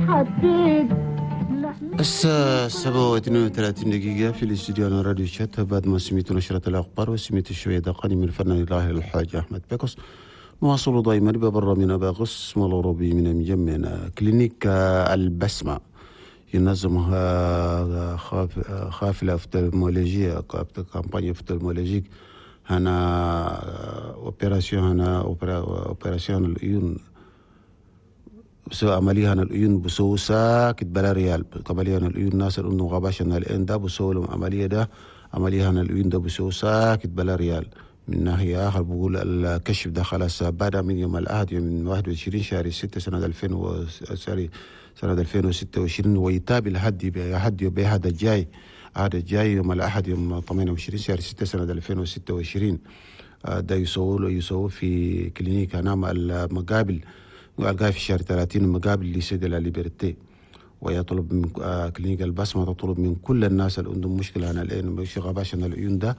حبيت. الساعة 7:32 في الاستوديو على راديو شات. بعد ما سميت نشرة الأخبار وسميت شوية دقاني من الفنان الراحل الحاج أحمد بيكوس، نواصل دائما ببرنامجنا باغس الأوروبي من مجمعنا clinique البسمة ينظمها خافلة ophtalmologie، campagne ophtalmologique هنا opération، هنا opération العيون، بسوي عملية هنا العيون بسوي ساكت بلا ريال. عملية هنا العيون ناس اللي عندهم غباش هنا العين ده بسوي لهم عملية ده، عملية هنا العيون ده بسوي ساكت بلا ريال. من ناحية آخر بقول الكشف ده خلاص بدأ من يوم الأحد يوم 21 شهر 6 سنة 2000 و سنة 2026، ويتابع لحد يوم الأحد الجاي، الأحد الجاي يوم الأحد يوم 28 شهر 6 سنة 2026. ده يسووا في clinique نعم المقابل ألقاه في شهر 30 مقابل lycée de la Liberté. ويطلب من clinique البسمة تطلب من كل الناس اللي عندهم مشكلة عن العين، مش غباش عن العيون ده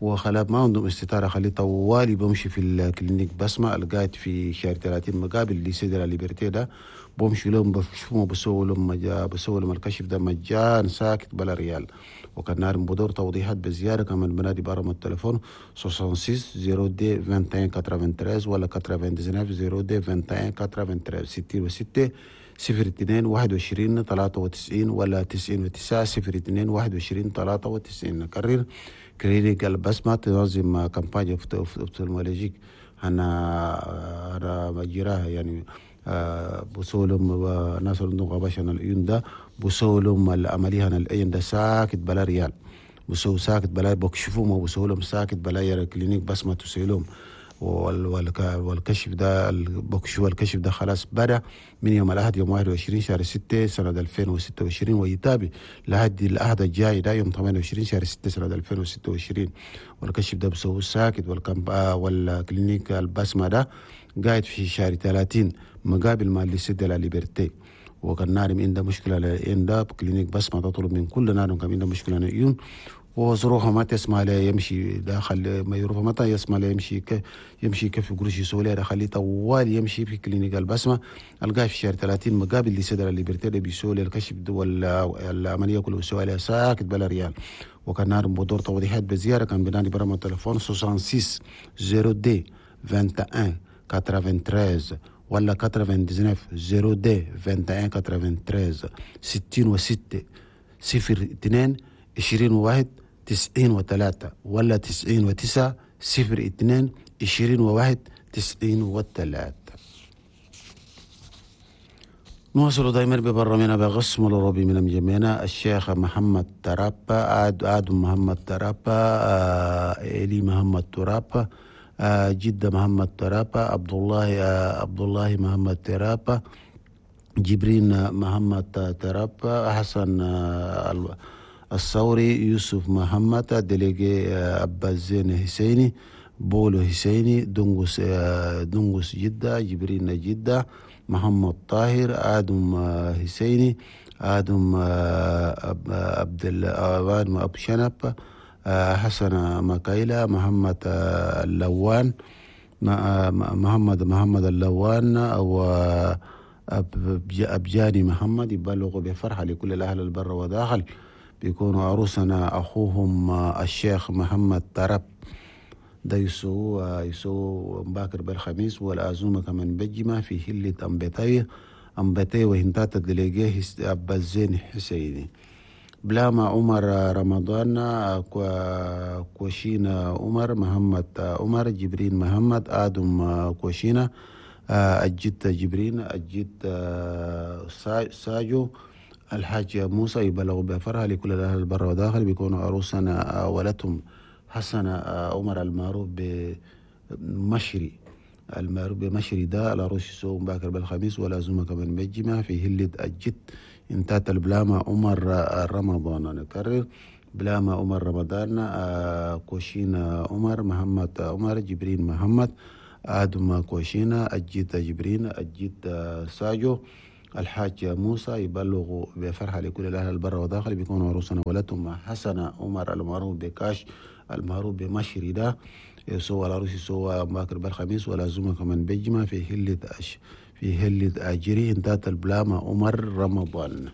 وخلاص ما عندهم استطاعة، خليه طوالي بمشي في ال clinique بسمة القاعد في شهر 30 مقابل lycée de la Liberté ده، بمشي لهم بشوفهم بسووا لهم بسووا لهم الكشف ده مجان ساكت بلا ريال. وكان نار بدور توضيحات بزيادة كمان بنادي برقم التليفون 66 02 21 93 ولا 99 02 21 93، 66 02 21 93 ولا 99 02 21 93. نكرر clinique البسمة تنظم campagne ophtalmologique هنا مجراها يعني بسولهم ناس اللي عندهم غباش هنا العيون ده بسولهم العملية هنا العين ده ساكت بلا ريال، بسو ساكت بلا بكشفوهم وبسولهم ساكت بلا clinique بسمة تسيلهم. والكشف ده بكشف الكشف ده خلاص بدأ من يوم الأحد يوم 21 شهر 6 سنة 2026، ويتابع لحد الأحد الجاي ده يوم 28 شهر 6 سنة 2026. والكشف ده بسوي ساكت. وال clinique البسمة ده قاعد في شهر 30 مقابل ما lycée de la Liberté. وكان نارم عنده مشكلة عنده clinique بسمة تطلب من كل نارم كان عنده مشكلة عيون وظروفها ما تسمع له يمشي داخل ما يروح متى يسمع له يمشي يمشي كيف قروش يسوي له خليه طوال يمشي في clinique البسمة القاه في شهر 30 مقابل lycée de la Liberté بيسوي له الكشف والعملية كله بيسوي لها ساكت بلا ريال. وكان نار بدور توضيحات بزيارة كان بنادي برقم التليفون 66 02 21 93 ولا 99 02 21 93، 66 02 21 93 ولا 99 02 21 93. نواصل دائما ببرنامجنا بغصم الأوروبي من مجمعنا الشيخ محمد ترابا، آدم محمد ترابا، إلي محمد ترابا، جدة محمد ترابا، عبد الله محمد ترابا، جبرين محمد ترابا، حسن الثوري، يوسف محمد، délégué عباس زين حسيني، بولو حسيني، دونغوس جدة، جبرين جدة، محمد طاهر، آدم حسيني، آدم عبد آدم أبو شنب، حسن مكايلة، محمد اللوان، محمد اللوان، أو أبجاني محمد. يبلغوا بفرحة لكل الأهل البر وداخل بيكونوا عروسنا أخوهم الشيخ محمد ترب ده يسووا مباكر بالخميس والعزومة كمان بجمة في هلة أمبتي وهنتات دليجيه أبا الزين حسيني. بلاما عمر رمضان، كوشينا عمر، محمد عمر، جبرين محمد، آدم كوشينا، الجد جبرين، الجد ساجو، الحاج موسى. يبلغ بفرها لكل الأهل البر وداخل بيكونوا عروسنا ولدهم حسن عمر المعروف بمشري، المعروف بمشري ده العروس يسوم باكر بالخميس والعزومة كمان بجمع في هلة الجد انتات البلامة عمر رمضان. نكرر بلامة عمر رمضان، كوشينا عمر، محمد عمر، جبرين محمد، آدم كوشينا، الجد جبرين، الجد ساجو، الحاج موسى. يبلغ بفرحة لكل الأهل البر وداخل بيكونوا عروسنا ولدهم حسن عمر المعروف بكاش المعروف بمشري ده يسوى العروس يسوى باكر بالخميس والعزومة كمان بجمع في هلة في هلة أجري انتات البلامة عمر رمضان.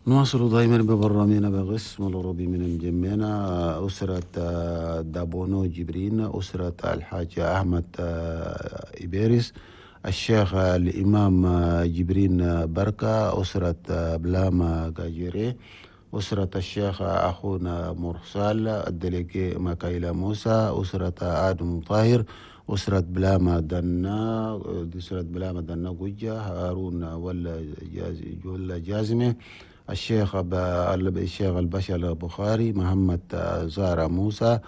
نواصل دائما ببرامجنا بقسم العربي من مجمعنا. أسرة دابونو جبرين، أسرة الحاج أحمد إبيريس، الشيخ الإمام جبرين بركة، أسرة بلاما جاجيري، أسرة الشيخ أخونا مرسال، ال délégué ماكايلا موسى، أسرة آدم طاهر، أسرة بلاما دنا، أسرة بلاما دنا قجة، هارون ولا جازمة، الشيخ البشر البخاري، محمد زارة موسى،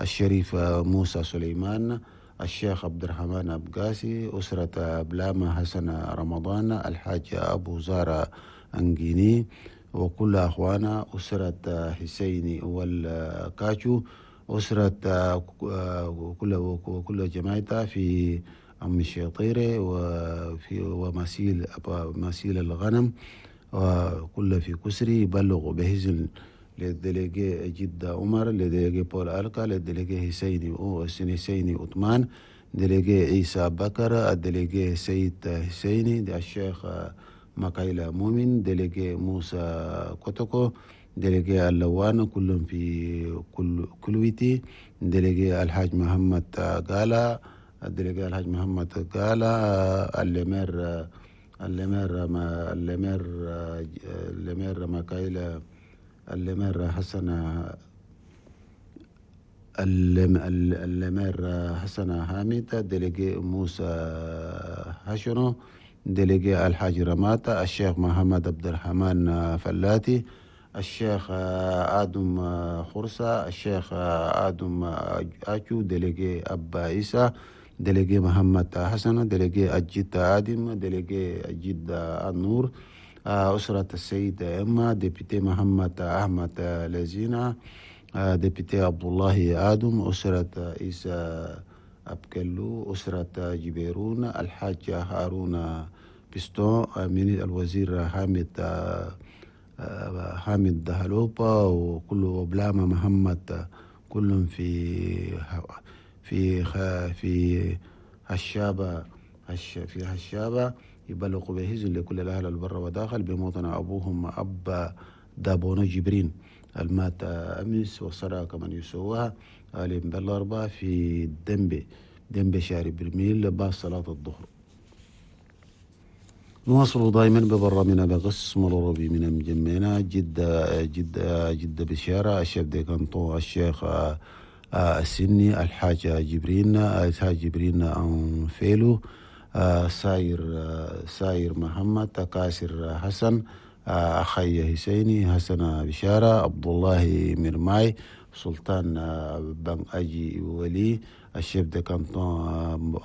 الشريف موسى سليمان، الشيخ عبد الرحمن أبقاسي، أسرة بلاما حسن رمضان، الحاج أبو زارة أنجيني، وكل أخوانا، أسرة حسيني والكاتشو، أسرة وكل جماعتها في أم الشيطيرة وفي ومسيل مسيل الغنم وكل في كسري. يبلغ بهزل لل délégué جدة عمر، لل délégué بول ألكا، لل délégué حسيني عثمان، délégué عيسى بكر، ال délégué سيد حسيني، الشيخ مكايلا مؤمن، délégué موسى كوتوكو، délégué اللوان كلهم في كل كلويتي، délégué الحاج محمد قالا، ال délégué الحاج محمد قالا، ال maire ال maire ما ال maire ال maire مكايلا، ال maire حسن، ال maire حسن حامد، délégué موسى هاشنو، délégué الحاج رماتا، الشيخ محمد عبد الرحمن فلاتي، الشيخ آدم خرسة، الشيخ آدم أجو، délégué أبا عيسى، délégué محمد حسن، délégué الجد آدم، délégué الجد النور، أسرة السيد إما، député محمد أحمد لزينة، député عبد الله آدم، أسرة عيسى أبكلو، أسرة جبيرون، الحاج هارون بستون، من الوزير حامد دهلوبا، وكل بلامة محمد، كلهم في في في هشابة في هشابة. يبلغ بهزن لكل الأهل البر وداخل بموطن أبوهم أب دابونو جبرين المات أمس وصرا كمن يسواها آلين بالأربعة في دنبي شاري برميل بعد صلاة الظهر. نواصل دائما ببرامجنا بقسم العربي من مجمعنا. جدة جدة جدة بشارة، الشيخ ديكانتو، الشيخ السني، الحاج جبرين، الحاج جبرين أنفيلو، ساير محمد، كاسر حسن، أخي حسيني، حسن بشارة، عبد الله مرماي، سلطان بن أجي ولي، ال chef de canton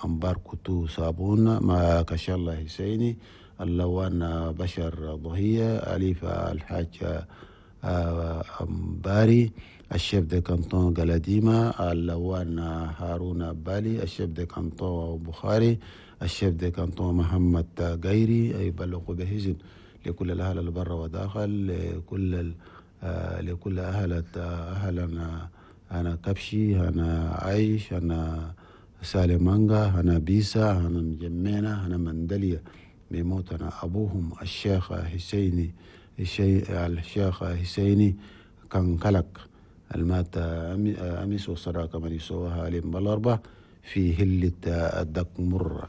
أمبار كتو صابون، ما كشالله حسيني، اللوان بشر ضهية، أليف الحاج أمباري، ال chef de canton قلديمة، اللوان هارون بالي، ال chef de canton بخاري، ال chef de canton محمد غيري. يبلغ بهزن لكل الأهل البر وداخل، لكل أهلنا، أنا كبشي، أنا عايش، أنا سالمانجا، أنا بيسا، أنا مجمينة، أنا مندلية، بموتنا أبوهم الشيخ حسيني، الشيخ حسيني كان كلك المات أمس وصراك من يسواها عليهم بالأربع في هلة الدق مرة.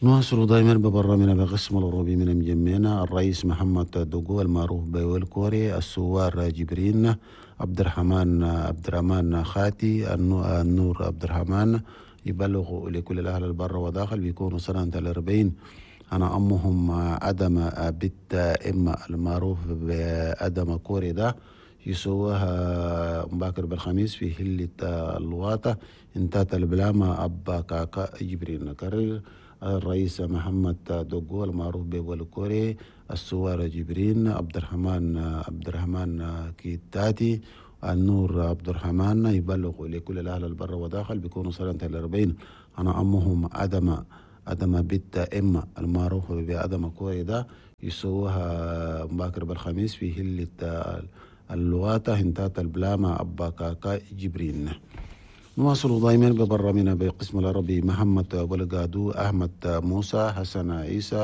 نواصل دائما ببرامجنا بقسم العربي من مجمعنا. الرئيس محمد دوغو المعروف بيول كوري، السوار جبرين، عبد الرحمن خاتي، النور عبد الرحمن، يبلغ لكل الأهل البر وداخل بيكونوا سنة 40. أنا أمهم أدم بنت إما المعروف بأدم كوري ده يسوها مباكر بالخميس في هلة الواطة انتات البلامة أبا كاكا جبرين. نكرر الرئيس محمد دوغو المعروف بولكوري، السوار جبرين، عبد الرحمن كيتاتي، النور عبد الرحمن، يبلغ لكل الأهل البر وداخل بيكونوا سنة 40. أنا أمهم أدم بنت إما المعروف بأدم كوري ده يسوها مباكر بالخميس في هلة اللواطة هنتات البلامة أبا كاكا جبرين. نواصل دائما ببرنامجنا بقسم العربي محمد ولقادو، أحمد موسى، حسن عيسى.